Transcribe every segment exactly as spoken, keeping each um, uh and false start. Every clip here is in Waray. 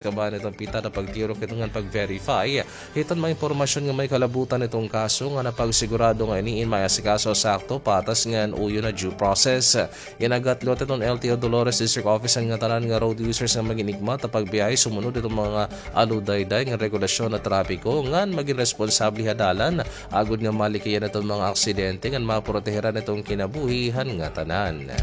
kabahin iton PITAD an pagtirok hiton ngan pag-verify hiton mga impormasyon nga may kalabutan hiton kaso ngan an pagsigurado nga ini in maiasikaso sakto, patas ngan uyon nga due process. Inagat liwat hiton L T O Dolores District Office an ngatanan nga road users nga magin hikmat ha pagbiyahe sumunod hiton mga aludayday nga regulasyon ha trapiko ngan magin responsable ha dalan agod nga malikayan hiton mga aksidente ngan maprotehiran hiton kinabuhi han ngatanan.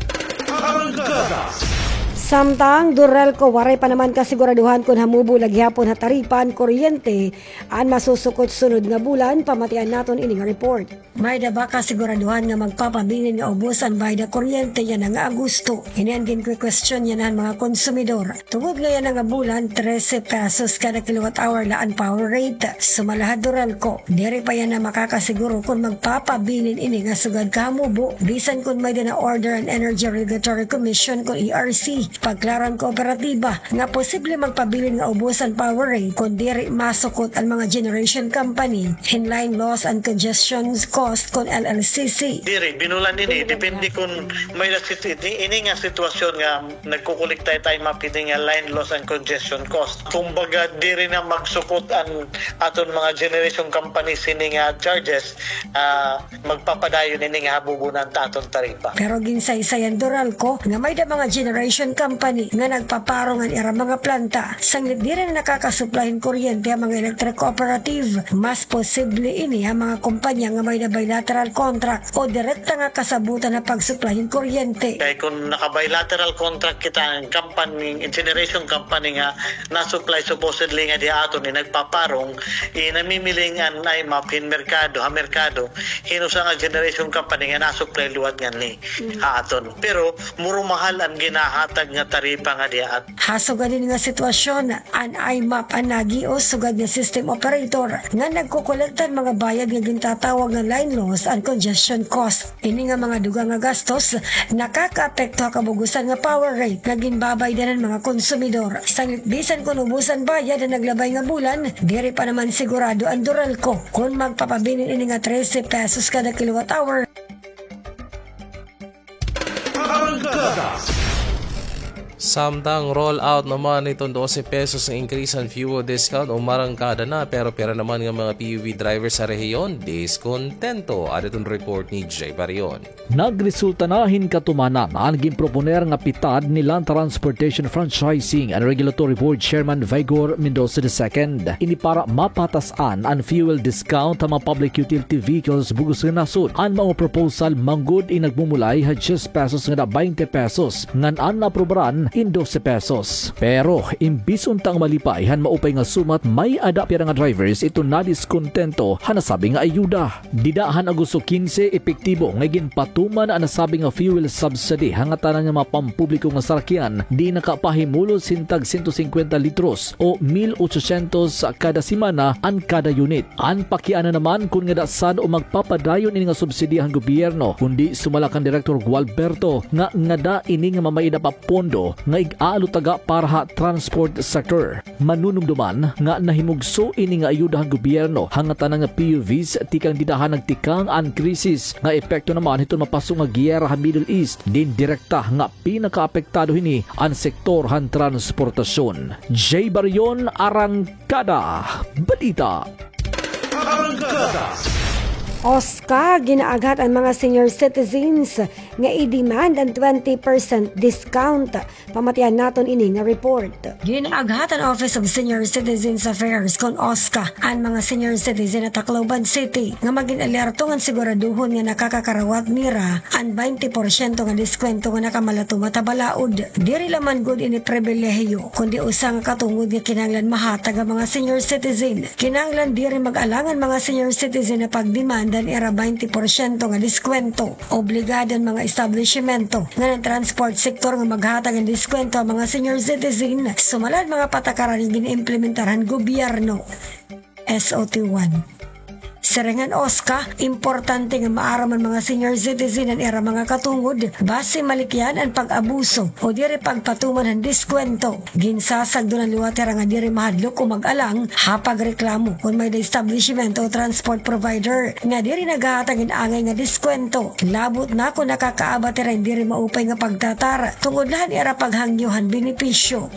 Samtang, DURALCO, waray pa naman kasiguraduhan kon hamubo la gihapon ha taripa an kuryente an masusukot sunod nga bulan. Pamatian naton ini nga report. May-ada ba kasiguraduhan nga magpapabilin nga ubos an bayad ha kuryente yana nga Agosto? Ini an ginkukwestiyon yana han mga konsumidor. Tungod nga yana nga bulan, trese pesos kada kilowatt hour la an power rate. Sumala ha DURALCO, diri pa yana makakasiguro kon magpapabilin ini nga sugad kahamubo, bisan kon may-ada na-order an Energy Regulatory Commission kon E R C, pagklaro han kooperatiba, nga posible magpabilin nga ubos an power rate kon diri masukot an mga generation company hin line loss and congestion cost kon L L C C. Diri, binulan ini, depende kon may-ada sit-, ini, ini nga sitwasyon nga nagkukolekta it I M A P hini nga line loss and congestion cost. Kumbaga, diri na magsukot an aton mga generation company sini nga charges, ah, magpapadayon ini nga habubunan ta aton taripa. Pero ginsaysay han DURALCO nga may-ada mga generation company nga nagpaparong an ira mga planta, sanglit diri na nakakasuplay hin kuryente an mga electric cooperative. Mas posible ini ha mga kompanya nga may-ada bilateral contract o direkta nga kasabutan ha pagsuplay hin kuryente. Kay kon naka-bilateral contract kita, an company, generation company nga nasuplay supposedly nga di aton, eh, nagpaparong, eh, namimiling an I M A P hin merkado, ha merkado, hin usa nga generation company nga nasuplay liwat nganhi ha aton. Pero murumahal an ginahatag nga taripa nga di aton. Ha sugad hini nga sitwasyon, an I M A P an nagios sugad nga system operator nga nagkokolekta hin mga bayad nga gintatawag nga line loss and congestion cost. Ini nga mga dugang nga gastos nakakaapekto ha kabug-osan nga power rate nga ginbabaydan han mga konsumidor. Sanglit bisan kon ubos an bayad han naglabay nga bulan, diri pa naman sigurado an DURALCO kon magpapabilin ini nga trese pesos kada kilowatt hour. Samtang roll out naman iton dose pesos nga increase han fuel discount, umarangkada na, pero pira naman nga mga P U V drivers sa rehiyon diskontento. Adi iton report ni Jay Barion. Nagresulta na hin katumanan an ginproponer nga PITAD ni Land Transportation Franchising and Regulatory Board Chairman Vigor Mendoza the second. Ini para mapatas-an an fuel discount ha mga public utility vehicles bug-os nga nasod. An mga proposal manggod in nagmumulay ha diyes pesos ngada baynte pesos, ngan an naaprobaran in dose pesos. Pero imbis unta nga malipay han maupay nga sumat, may-ada pira nga drivers iton nadiskontento han nasabi nga ayuda. Dida han Agosto kinse, epektibo nga iginpatuman an nasabi nga fuel subsidy ha ngatanan nga mga pampubliko nga sarakyan, diin nakapahimulos hin tag sento singkwenta litros o mil ochocientos kada semana an kada unit. An pakiana naman kon ngada san o magpapadayon ini nga subsidiya han gobyerno, kundi sumala kan Direktor Gualberto nga ngada ini nga mamay-ada pa pondo nga ig-aalutaga para ha transport sector. Manunumdoman nga nahimugso ini nga ayuda han gobyerno ha ngatanan nga P U Vs tikang dida han nagtikang an krisis nga epekto naman hiton mapaso nga giyera ha Middle East, diin direkta nga pinakaapektado hini an sektor han transportasyon. Jay Barion, Arangkada Balita. OSCA ginaaghat an mga senior citizens nga i-demand an twenty percent discount. Pamatian naton ini nga report. Ginaaghat han Office of Senior Citizens Affairs kon OSCA an mga senior citizen ha Tacloban City nga magin alerto ngan siguraduhon nga nakakakarawat nira an baynte porsyento nga diskwento nga nakamalatumat ha balaod. Diri la man gud ini pribilehiyo, kundi usa nga katungod nga kinahanglan mahatag ha mga senior citizen. Kinahanglan diri mag-alang an mga senior citizen ha pagdemanda han ira baynte porsyento nga diskwento. Obligado an mga establisimyento ngan an transport sektor nga maghatag hin diskwento ha mga senior citizen, sumala han mga patakaran nga gin-implementar han gobyerno. S O T one. Siring han OSCA, importante nga maaram an mga senior citizen han ira mga katungod, basi malikyan an pag-abuso o diri pagpatuman han diskwento. Ginsasagdonan liwat hira nga diri mahadlok o mag-alang ha pagreklamo kon may-ada establisimyento o transport provider nga diri naghahatag hin angay nga diskwento, labot na kon nakakaabat hira hin diri maupay nga pagtratar tungod la han ira paghangyo han benepisyo.